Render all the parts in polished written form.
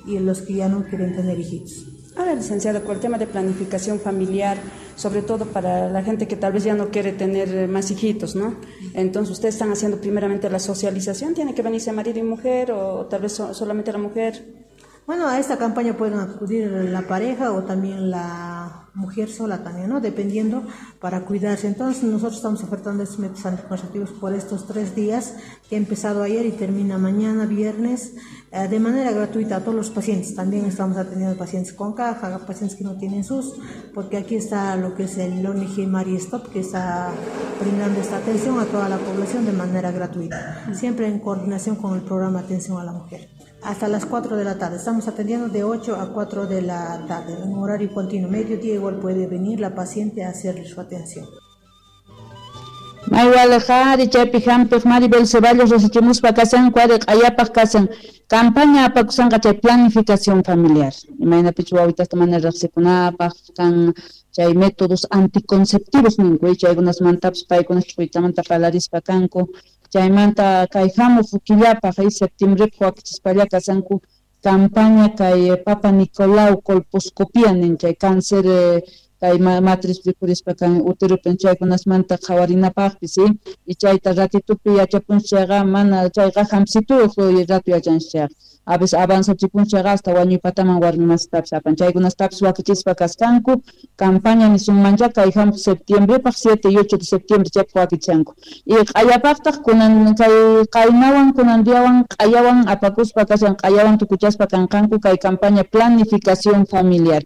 y los que ya no quieren tener hijitos. Ahora, licenciada, con el tema de planificación familiar, sobre todo para la gente que tal vez ya no quiere tener más hijitos, ¿no? Entonces, ustedes están haciendo primeramente la socialización, ¿tiene que venirse marido y mujer o tal vez solamente la mujer? Bueno, a esta campaña pueden acudir la pareja o también la mujer sola también, ¿no? Dependiendo para cuidarse. Entonces, nosotros estamos ofertando estos métodos anticonceptivos por estos 3 días que ha empezado ayer y termina mañana, viernes, de manera gratuita a todos los pacientes. También estamos atendiendo pacientes con caja, pacientes que no tienen SUS, porque aquí está lo que es el ONG Marie Stop, que está brindando esta atención a toda la población de manera gratuita, siempre en coordinación con el programa Atención a la Mujer. Hasta las 4 de la tarde. Estamos atendiendo de 8 a 4 de la tarde, en un horario continuo. Mediodía igual puede venir la paciente a hacerle su atención. Maywalajari chaypi hampiq Maribel Ceballos rasichimuspa kasan kuari q'ayapaq kasan campaña apakusanqa chay planificación familiar imaynapichu wawitasta mana riqsikunapaq kan chay métodos anticonceptivos ninku chaykunasmantapis paykuna ch'uytamanta parlarispa kanku chaymanta kay hamuq killapaq septiembrepaq wakichispalla kasanku campaña kay Papa Nicolau colposcopía nin chay cáncer kay matriz rikurispa kan uteropi chaykunasmanta qhawarinapaqpis y chayta ratitupi yachapunchik chayqa mana chayqa hampsituyuq rato yachanchik chayqa a veces avanzachipunchik chayqa hasta wañuypataman warmimasitapis apan chaykunastapis wakichispa kasqanku campaña nisunmancha kay hamuq septiembrepaq 7 y 8 de septiembre chaypaq wakichanku y q'ayapaqtaq kunan kay qaynawan kunan diawan q'ayawan apakuspa kashan q'ayawan tukuchaspa kanqanku kay campaña planificación familiar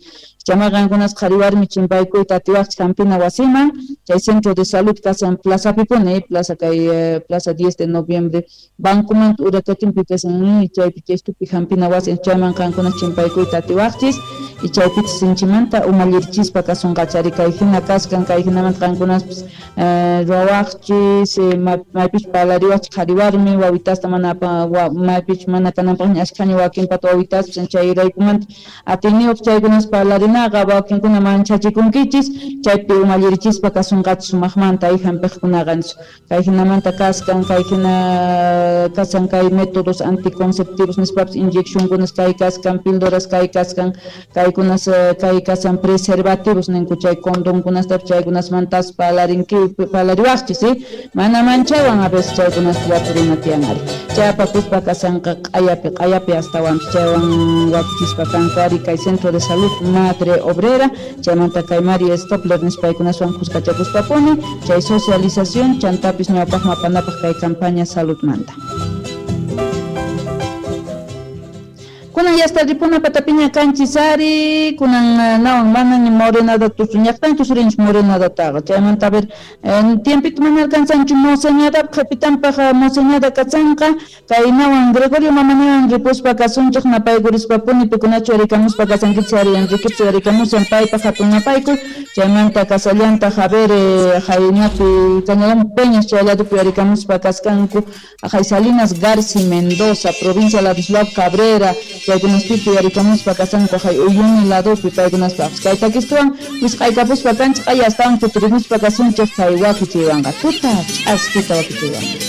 chama qankunas qhari warmi chimpaykuyta atiwaqchik hampina wasiman chay centro de salud kasan plaza pipuni plaza kay plaza 10 de noviembre bankumanta urakatinpi kasan chaypi chaystupi hampina wasi chayman qankunas chimpaykuyta atiwaqchis y chaypichis sinchimanta umallirichispa kasunqachari kay hina kaskan kay hinamanta qankunaspis ruwawaqchis maypich parlariwaqchik qhari warmi wawitasta mana maypich mana kananpaqña ashkhaña wakinpata wawitaspis chayraykumanta atiyniyuq chaykunas parlarinaqa wakinkuna manchachikunkichis chaypi umallirichispa kasunqachis sumaqmanta ay hampiqkunaqa kay hinamanta kaskan kay hina kasan kay métodos anticonceptivos nispapis inyeccionkunas kay kaskan píldoras kay kaskan kaykunas kay kasan preservativos ninku chay condonkunastapis chaykunasmantas parlariwaqchis mana manchaywan a veces chaykunas waturina tiyan ari chay apakuspa kasanqa q'ayapi q'ayapi astawanpis chaywan wakichispa kanku ari kay centro de salud Madre Obrera chaymanta kay María Stopler nispaykunaswan kuskachakuspapuni chay socialización chantapis ñawpaqman apanapaq kay campaña saludmanta. Kunan ya está ripuna patapiña kanchisari kunan nawan mana ni morenada tusuñaqtanchu surinchik morenadataqa chaymanta a ver tiempito mana alcanzanchu moseñada qhipitanpaq moseñada kachanqa kay nawan Gregorio mamaniwan ripuspa kasunchik napaykurispa-puni pikunachu yarikamuspa kasankichik ari Enriquechu yarikamusan paypaq hatun napaykuy chaymanta kasallantaq a ver haynapi Cañadón Peñas chay ladopi yarikamuspa kaskanku hay Salinas Garci Mendoza provincia Ladislao Cabrera chaykunaspipi yarikamuspa kasanku hay Uyuni ladopi paykunaspaqpis kay takistuwan wisq'aykapuspa kanchik q'aya astawan kutirimuspa kasunchik kay wakichiywanqa tuta ch'askita wakichiywanqa.